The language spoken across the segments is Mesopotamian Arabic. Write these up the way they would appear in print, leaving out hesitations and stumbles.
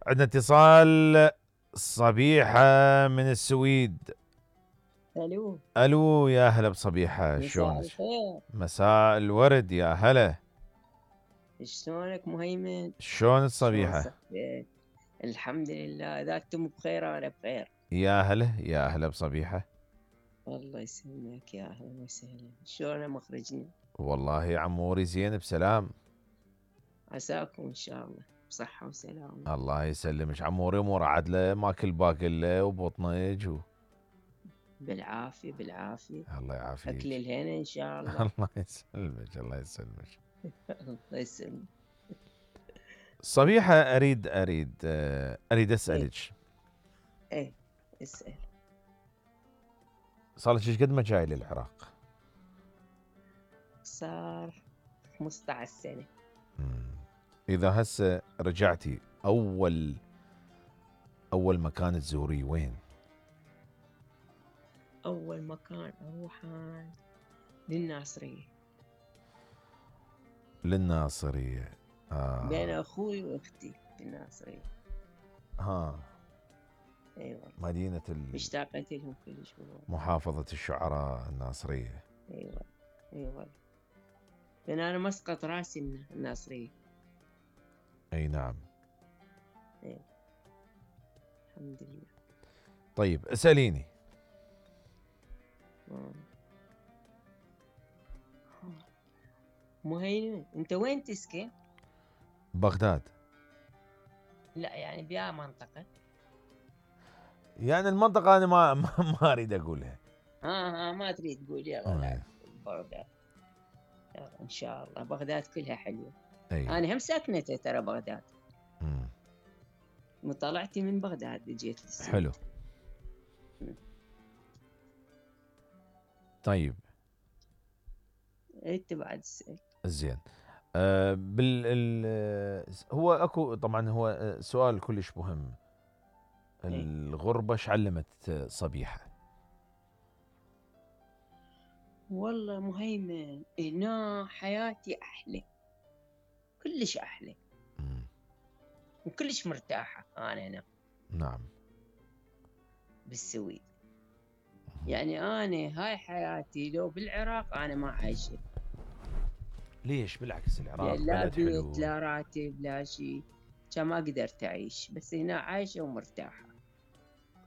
عندنا اتصال. صبيحة من السويد. الو الو، يا هلا بصبيحة، مساء شلونك؟ الخير. مساء الورد، يا هلا. شلونك مهيمن؟ شلون شلون الصبيحة؟ صحتك؟ الحمد لله، اذا انتم بخير انا بخير. يا هلا يا هلا بصبيحة. الله يسلمك، يا اهلا وسهلا. شلون مخرجنا؟ والله عموري زين بسلام. عساكم ان شاء الله بصحة وسلامة. الله يسلمك عموري، امور عدله، ماكل باقله وبطنج بالعافية بالعافية. الله اكل يعافيك. الهنا ان شاء الله. الله يسلمك الله يسلمك. الله يسلمك. صبيحة، اريد ايه اسالك. ايه اسأل. صار لك ايش قد ما جاي للعراق؟ صار 15 سنة. اذا هسه رجعتي، اول مكان تزوريه وين؟ اول مكان اروحه للناصرية. للناصرية. بين اخوي واختي بالناصرية. ها. ايوه. مدينة اشتاقت لهم كلش والله. محافظة الشعراء الناصرية. ايوه ايوه. لان انا مسقط راسي من الناصرية. اي نعم. ايوه. الحمد لله. طيب اسأليني. مهيمن، انت وين تسكن؟ بغداد. لا يعني بيا منطقة. يعني المنطقة انا ما اريد اقولها. ما تريد تقول يلا لا. بغداد. يلا ان شاء الله، بغداد كلها حلوة. اي. انا هم ساكنة ترى بغداد. مم. وطلعتي من بغداد جيت للسويد. حلو. طيب انت بعد اسأل. زين. هو اكو طبعا، هو سؤال كلش مهم. الغربة ايش علمت صبيحة؟ والله مهيمن، هنا حياتي أحلى، كلش أحلى. وكلش مرتاحة أنا هنا. نعم. بالسويد. يعني أنا هاي حياتي لو بالعراق أنا ما عايشة. ليش؟ بالعكس العراق لا بلد حلو. بيت لا راتب لا شيء، كان ما قدرت أعيش، بس هنا عايشة ومرتاحة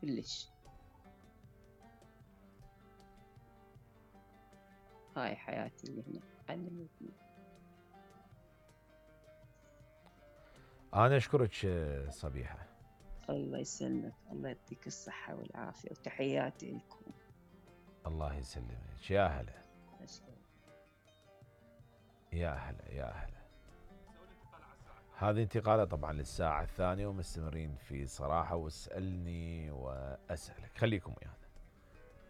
كلش. هاي حياتي اللي هنا علمتني. أنا أشكرك صبيحة. الله يسلمك، الله يعطيك الصحة والعافية، وتحياتي لكم. الله يسلمك، يا هلا. يا هلا يا هلا. هذه انتقالة طبعا للساعة الثانية، ومستمرين في صراحة واسألني وأسألك، خليكم ويانا.